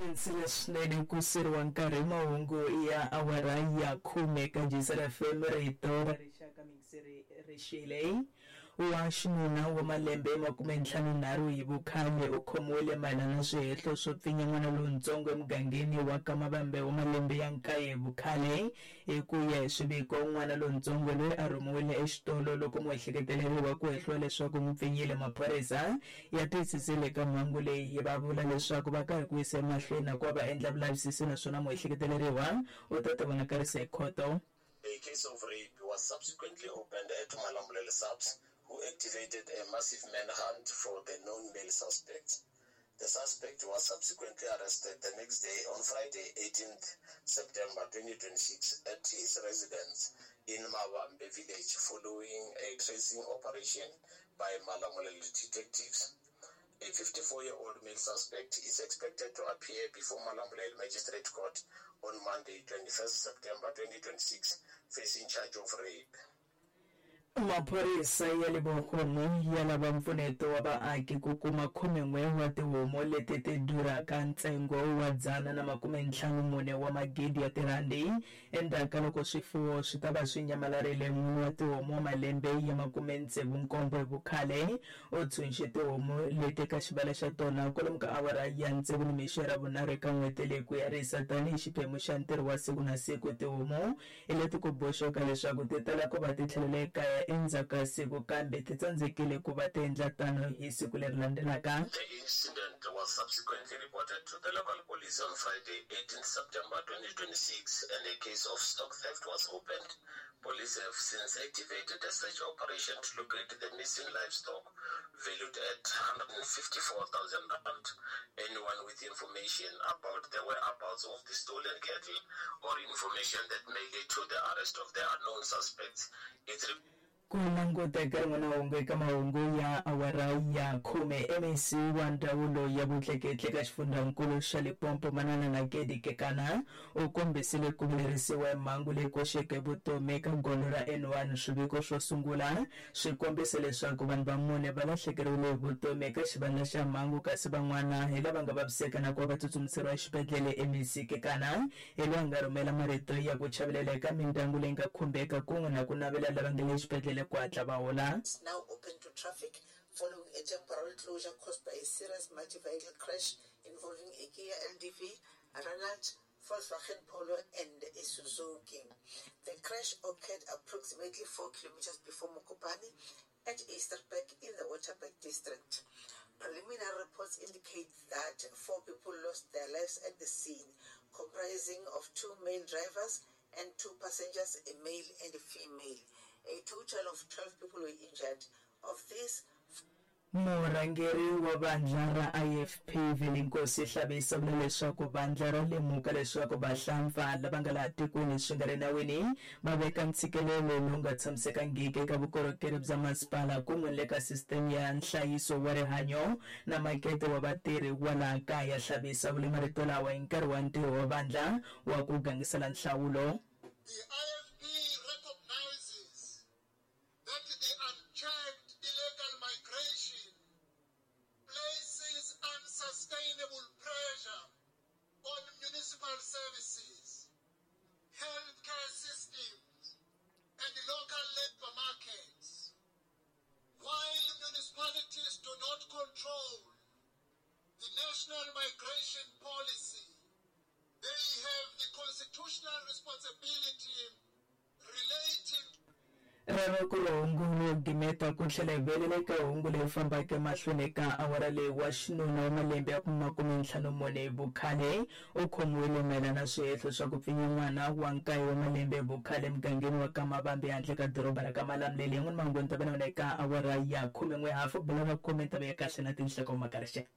Khensile swinene ku siriwa nkarhi mahungu ya awara ya khume ka Jisela FM rito ra rixaka mingiseri rixile wa xinuna wa malembe 53 hi vukhale u khomiwile mayelana na swihehlo swo pfinya n'wana lontsongo emugangeni wa Kamavambe wa malembe ya 9 hi vukhale. Hi ku ya hi swiviko, n'wana lontsongo loyi a rhumiwile exitolo loko muehleketeleriwa ku hehliwa leswaku n'wi pfinyile. Maphorisa ya tiyisisile eka mhangu leyi va vula leswaku va karhi ku yisa emahlweni na ku va va endla vulavisisi naswona muehleketeleriwa u ta tivonakarisa hi khoto. A case of rape was subsequently opened at Malamulele SAPS, who activated a massive manhunt for the known male suspect. The suspect was subsequently arrested the next day on Friday, 18th September 2026 at his residence in Mavambe village following a tracing operation by Malamulele detectives. A 54-year-old male suspect is expected to appear before Malamulele Magistrate Court on Monday, 21st September 2026, facing charge of rape. Maphorisa ya le Bogomo ya lava mpfuneto wa vaaki ku kuma 11 wa tihomu leti ti durhaka ntsengo wa 154 wa magidi ya tirhandi endzhaku ka loko swifuwo swi ta va swi nyamalarile. N'wini wa tihomu wa malembe ya 67 hi vukhale u tshunxe tihomu leti eka xivala xa tona kwalomu ka awara ya 6 nimixo ya Ravunharhu eka n'hweti leyi ku ya risa tanihi xiphemu xa ntirho wa siku na siku. Tihomu hi leti ku boxiwaka leswaku ti tala ku va ti tlhelela ekaya endzhaku ka siku kambe ti tsandzekile ku va ti endla tano hi siku leri landzelaka. The incident was subsequently reported to the local police on Friday, 18 September 2026, and a case of stock theft was opened. Police have since activated a search operation to locate the missing livestock valued at 154,000 rand. Anyone with information about the whereabouts of the stolen cattle or information that may lead to the arrest of the unknown suspects is Ku languta eka rin'wana hungu eka mahungu ya awara ya khume, MEC wa Ndzawulo ya Vutleketli eka Xifundzankulu xa Limpopo Manana Nakedi Kekana u kombisile ku vilerisiwa hi mhangu leyi koxeke vutomi eka gondzo ra N1. Swiviko swo sungula swi kombise leswaku vanhu va mune va lahlekeriwile hi vutomi eka xivandla xa mhangu kasi van'wana hi lava nga vaviseka na ku va va tsutsumiseriwa exibedhlele. MEC Kekana hi loyi a nga rhumela marito ya ku chavelela eka mindyangu leyi nga khumbeka kun'we na ku navela lava nga le exibedhlele ku hatla va hola. is now open to traffic following a temporary closure caused by a serious multi-vehicle crash involving a Kia LDV, a Renault, Volkswagen Polo and a Suzuki. The crash occurred approximately 4 kilometers before Mokopane at Easterberg in the Waterberg district. Preliminary reports indicate that 4 people lost their lives at the scene, comprising of 2 male drivers and 2 passengers, a male and a female. A total of 12 people were injured. Of these, Murhangeri wa vandla ra IFP Velinkosi Hlabisa u vula leswaku vandla ra lemuka leswaku vahlampfa lava nga laha tikweni swi nga ri nawini va veka ntshikelelo lowu nga tshamisekangiki eka vukorhokeri bya masipala kun'we ni le ka sisiteme ya nhlayiso wa rihanyo na makete wa vatirhi wa laha kaya. Hlabisa u vule marito lawa hi nkarhi wa ntirho wa vandla wa ku gangisela nhlawulo. The IFP recognizes that the unchecked illegal migration places unsustainable pressure on municipal services, healthcare systems, and local labor markets. While municipalities do not control the national migration policy, they have the constitutional responsibility relating Rero ku ri hungu ro gimeta ku tlhela hi vuyelela eka hungu leri fambaka emahlweni eka awara leyi. Wa xinuna wa malembe ya 54 hi vukhale u khomiwile mayelana na swihehlo swa ku pfinya n'wana wa nkaye wa malembe hi vukhale emugangeni wa ka Mavambe ehandle ka doroba ra ka Malamulele. Yan'wini mahungu ni ta va na wona eka awara ya 11 hafu. Bula va khome tava ya kahle na tinhloko mhaka rixaka.